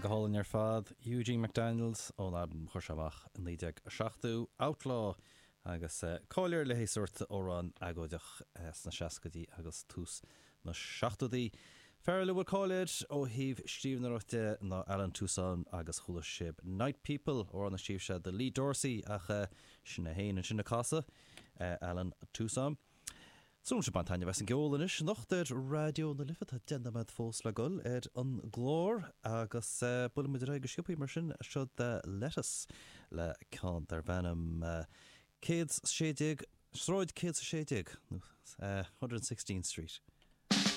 Go hálainn ar fad. Eugene McDaniels ón albam a chuir sé amach i 1970, Outlaw, agus cáil air le haghaidh sórt amhrán agóideach sna seascaidí agus tús na seachtóidí. Fear eile a bhfuil cáil air ó thaobh scríbhneoireacht de ná Allen Toussaint agus chuala sibh Night People, amhrán a scríobh sé do Lee Dorsey ach sin é féin ansin ag casadh, Allen Toussaint. Súil agam ag baint taitneamh as an gceol anois anocht ar Raidió na Life. Tá 10 nóiméad fós le dul ar an gclár agus buailfidh muid ar aghaidh go sciobthaí mar sin. Seo The Lettuce le ceann darb ainm 116, Sráid 116 nó 116 Street.